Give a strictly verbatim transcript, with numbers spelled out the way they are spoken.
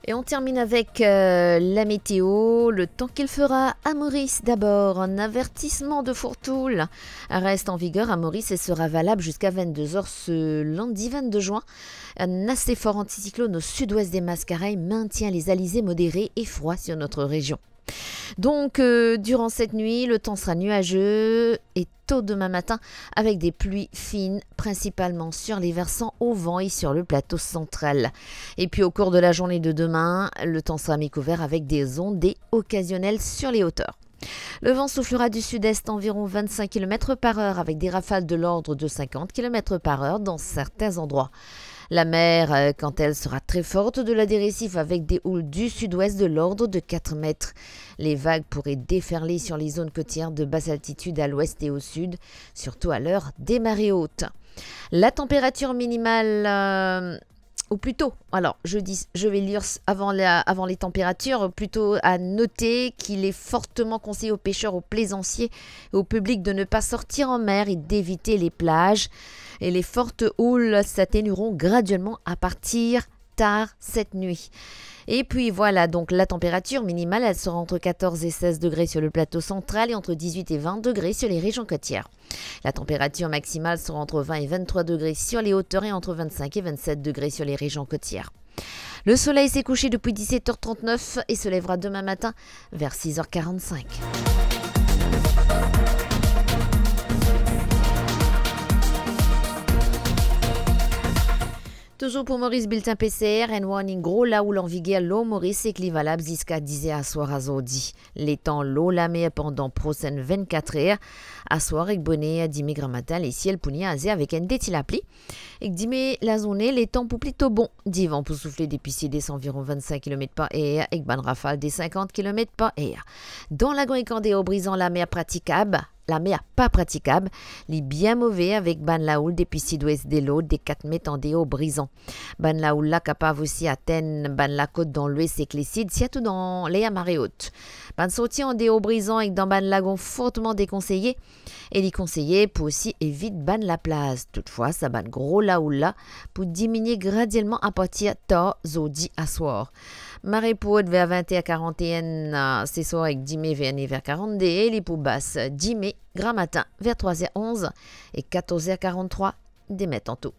Et on termine avec, euh, la météo. Le temps qu'il fera à Maurice d'abord. Un avertissement de fourre-tout reste en vigueur à Maurice et sera valable jusqu'à vingt-deux heures ce lundi vingt-deux juin. Un assez fort anticyclone au sud-ouest des Mascareignes maintient les alizés modérés et froids sur notre région. Donc, euh, durant cette nuit, le temps sera nuageux et tôt demain matin avec des pluies fines, principalement sur les versants au vent et sur le plateau central. Et puis au cours de la journée de demain, le temps sera mi-couvert avec des ondées occasionnelles sur les hauteurs. Le vent soufflera du sud-est environ vingt-cinq kilomètres par heure avec des rafales de l'ordre de cinquante kilomètres par heure dans certains endroits. La mer, euh, quant à elle, sera très forte au-delà des récifs avec des houles du sud-ouest de l'ordre de quatre mètres. Les vagues pourraient déferler sur les zones côtières de basse altitude à l'ouest et au sud, surtout à l'heure des marées hautes. La température minimale, euh, ou plutôt, alors, je dis, je vais lire s-, avant la, avant les températures, plutôt à noter qu'il est fortement conseillé aux pêcheurs, aux plaisanciers et au public de ne pas sortir en mer et d'éviter les plages. Et les fortes houles s'atténueront graduellement à partir tard cette nuit. Et puis voilà, donc la température minimale, elle sera entre quatorze et seize degrés sur le plateau central et entre dix-huit et vingt degrés sur les régions côtières. La température maximale sera entre vingt et vingt-trois degrés sur les hauteurs et entre vingt-cinq et vingt-sept degrés sur les régions côtières. Le soleil s'est couché depuis dix-sept heures trente-neuf et se lèvera demain matin vers six heures quarante-cinq. Touzour pou Moris, biltin P C R, enn warning gro laoul anviger lor Moris ek li valab ziska diz er aswar a zordi. Letan lor lamer pandan prosenn vennkat er, aswar ek boner dime gramatin, lesiel pou niaze avek enn de ti lapli. Ek dime lazourne, letan pou plito bon. Divan pou soufle depi sides anviron vennsenk kilomet par er ek bann rafal de sinkant kilomet par er. Dan Lagon ek andeor Brizan, lamer pratikab, lamer pa pratikab, li bien move avek bann laoul depi sidwes de Lord de kat met andeor Brizan. Bann laoul la kapav osi atenn bann lakot dan lwes ek lesid, sirtou dan ler mare ot. Bann sorti andeor Brizan ek dan bann lagon forteman dekonseye, e li konseye pou osi evit bann laplaz. Toutfwa, sa bann gro laoul la pou diminie gradielman apartir tar zordi aswar. Mare pou ot ver vinte er karanteen, a, seswar ek dime ver nef er karannde, e li pou bas dime gramatin ver trwa er onz e katorz er karanntrwa demin tanto.